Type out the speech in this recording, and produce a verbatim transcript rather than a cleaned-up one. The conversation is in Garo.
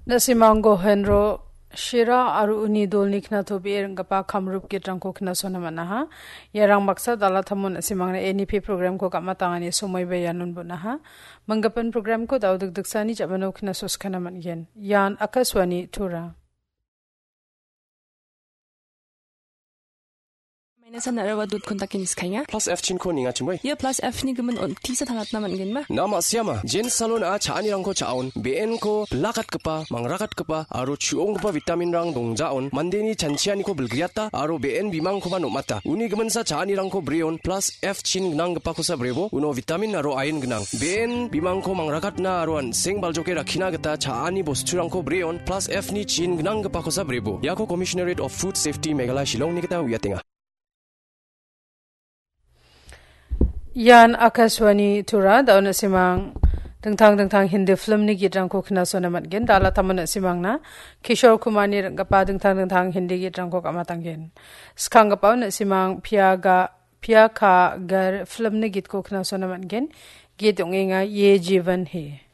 Na·simang Gohenro Shira aro uni dolni knatobee ring·gipa kamrup gitrangko knasona man·aha. Iarang baksa dalatamon na·simangna N E P programko gam·atangani somoiba ianon bon·aha. Manggipan programko da·o dikdiksani ja·mano knasoskana man·gen. Ian Akashvani Tura. Minus-an araba dot kontake niskaenga. Plus F chinko nengachimoi. Ia plus F ni gimin on tisa tangatna man·genba? Na ma·siama, Jen Salon-a cha·anirangko cha·on, be·enko bilakatgipa, mangrakatgipa, aro chu·onggipa vitaminrang dongjaon, mandeni chanchianiko bilgriata, aro be·en bimangkoba nom·ata. Uni giminsa cha·anirangko breon, plus F chin gnanggipakosa brebo, uno vitamin aro ain gnang. Be·en bimangko mangrakatna aro an·seng baljoke rakkina gita cha·ani bosturangko breon, plus F ni chin gnanggipakosa brebo. Iako Commissionerate of Food Safety Meghalaya Shillongni gita uiatenga. Ian Akashvani Tura, da·o na·simang dingtang dingtang Hindi filmni gitrangko knasona man·gen. Dalatamon na·simangna Kishore Kumarni ring·gipa dingtang dingtang Hindi gitrangko gam·atanggen. Skanggipao na·simang Piya Ga, Piya Ka Ghar filmni gitko knasona man·gen. Git ong·enga Ye Jeevan Hai.